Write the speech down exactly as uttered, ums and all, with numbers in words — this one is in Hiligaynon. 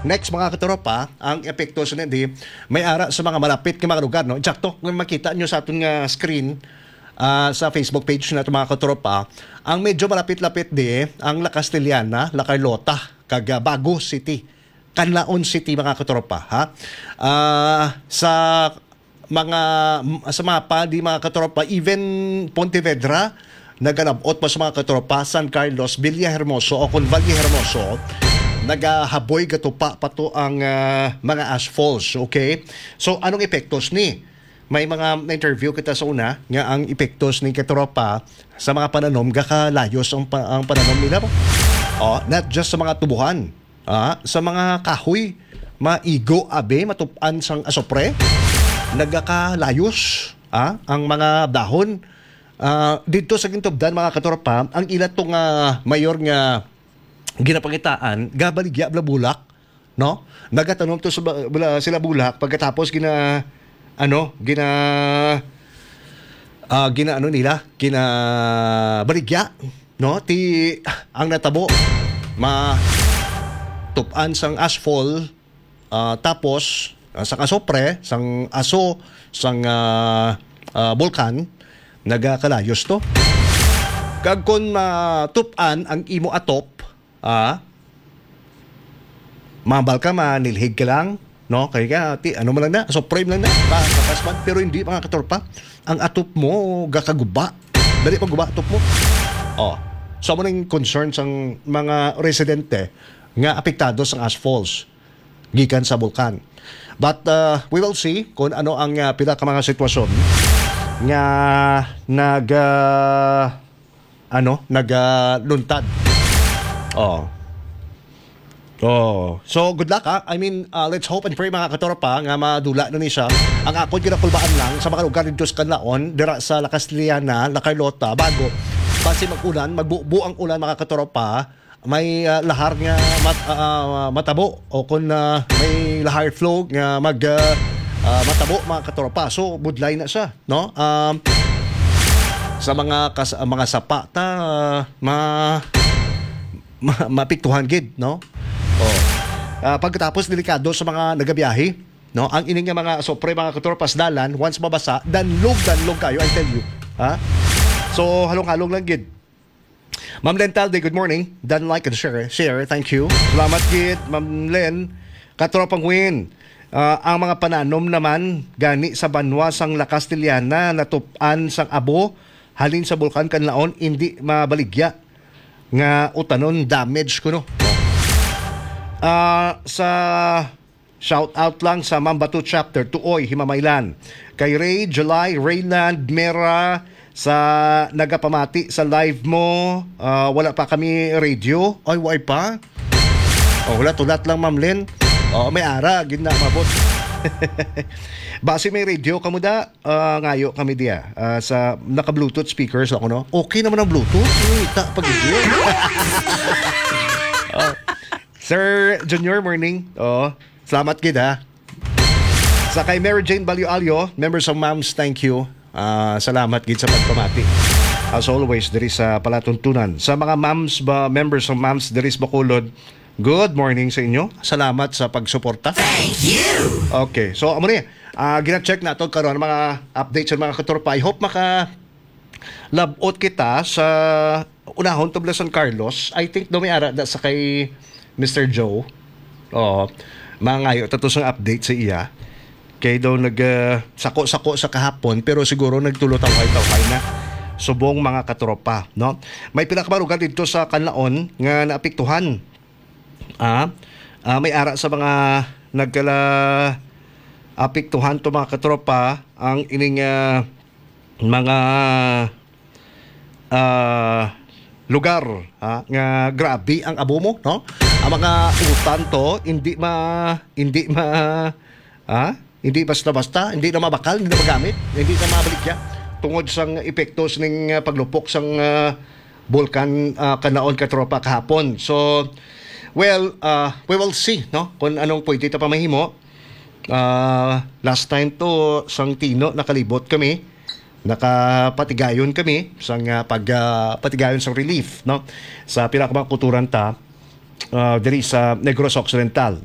Next, mga katropa, ang epekto sa di may ara sa mga malapit nga mga lugar, no? Eksakto, kung makita nyo sa aton nga screen, ah, sa Facebook page na mga katropa, ang medyo malapit-lapit di ang La Castellana, La Carlota, kag, ah, Bago City, Canlaon City, mga katropa, ha? Ah, sa mga, sa mapa di, mga katropa, even Pontevedra, nagalabot pa sa mga katropa, San Carlos, Villahermoso, o kung Vallehermoso, nagahaboy, gatupa pa to ang, ah, mga ashfalls, okay? So, anong epektos ni? May mga na-interview kita sa una nga ang epektos ni katropa sa mga pananom gakalayos ang pa-, ang pananom nila. Oh, not just sa mga tubuhan, ah, sa mga kahoy, maigo abi, matup-an sang asopre, nagakalayos, ah, ang mga dahon. Ah, didto sa Gintubdan, mga katropa, ang ila to nga mayor nga ginapangitaan, gabaligya bulak, no? Nagatanom to sa ba-, bula-, sila bulak, pagkatapos gina-, ano, gina-, ah, gina-, ano nila, ginabaligya, no? Ti, ang natabo, ma-, tup-an sang ashfall, ah, tapos, ah, sang asopre, sang aso, sang, ah, ah, bulkan, nagakalayos to. Kag kon matup-an ang imo atop, ah, mahambal ka, manilhig ka lang, no? Kay ka, ti, ano man lang na, asopre man lang na, pa, kapas man, pero hindi, mga katropa, ang atop mo, gakaguba. Dali maguba atop mo. Oh. So, amo ning concern sang mga residente nga apektado sang ashfalls gikan sa bulkan. But, uh, we will see kung ano ang, uh, pila ka mga sitwasyon nga nag, uh, ano, nag, uh, luntad. Oh. Oh. So, good luck, ha. I mean, uh, let's hope and pray, mga katropa, nga madula na ni siya. Ang akon ginakulbaan lang sa mga lugar dito sa Canlaon, dira sa La Castellana, La Carlota, Bago. Basi mag-ulan, magbubo ang ulan, mga katropa, may, ah, lahar nga mat-, ah, ah, matabo o kung, ah, may lahar flow nga mag, ah, ah, matabo, mga katropa. So, budlay na siya, no? Um, sa mga kas-, ah, mga sapa ta, ah, ma-, ma-, maapektuhan gid, no? Oh. Ah, pagkatapos, delikado sa mga nagabiyahe, no? Ang ini nga mga asopre, mga katropa, sa dalan, once mabasa, danlog, danlog kayo, I tell you. Ha? So, halong-halong lang gid. Ma'am Len Talde, good morning. Dan, like and share. Share, thank you. Salamat gid, Ma'am Len. Katropang Win, ah, ang mga pananom naman gani sa banwa sang La Castellana natup-an sang abo halin sa Bulkan Canlaon, indi mabaligya nga utanon, damage kuno. Ah, sa Shout out lang sa Mambatu Chapter, Tuoy, Himamaylan. Kay Ray, July, Rayland, Mera, sa nagapamati sa live mo, ah, wala pa kami radio. Ay, wala pa? Oh, hulat-hulat lang, Ma'am Len. Oh, may ara, gid na, mabot. Basi may radio ka mo da? Ah, ngayo kami diya. Ah, sa, naka-Bluetooth speakers ako, no? Okay naman ang Bluetooth. Uy, ta, pag Oh. Sir Junior, morning. Oh, salamat gid, ha. Sa kay Mary Jane Balyo Alyo, members of Moms, thank you. Ah, salamat gid sa pagpamati. As always, diri sa palatuntunan. Sa mga moms ba, members of Moms diri sa Bacolod, good morning sa inyo. Salamat sa pagsuporta. Thank you! Okay, so amo ni, ah, gina-check nato karon ang mga updates sa mga katropa. I hope maka labot kita sa unahon tubla San Carlos. I think daw may ara da sa kay Mister Joe. Oo. Mangayo ta to sang update sa iya. Kay daw nag, ah, sako-sako sa kahapon, pero siguro nagtulo tawhay-tawhay na. Subong mga katropa, no? May pila ka mga lugar dito sa Canlaon nga naapektuhan. Ah, ah, may ara sa mga nagkala apektuhan to, mga katropa, ang ining, ah, mga, ah, lugar, ha, nga grabe ang abo mo, no? Ang mga utan to, hindi ma-, hindi ma-, ha? Hindi basta-basta, hindi na mabakal, hindi na magamit, hindi na mabaligya tungod sang epektos ning, ah, paglupok sang, ah, Bulkan, ah, Canlaon, katropa, kahapon. So, well, ah, we will see, no, kung anong pwede ta pa mahimo. Ah, last time to, sang Tino, nakalibot kami, nakapatigayon kami sang, ah, pag, ah, patigayon sang relief, no, sa pila ka mga kulturan ta, ah, diri sa Negros Occidental.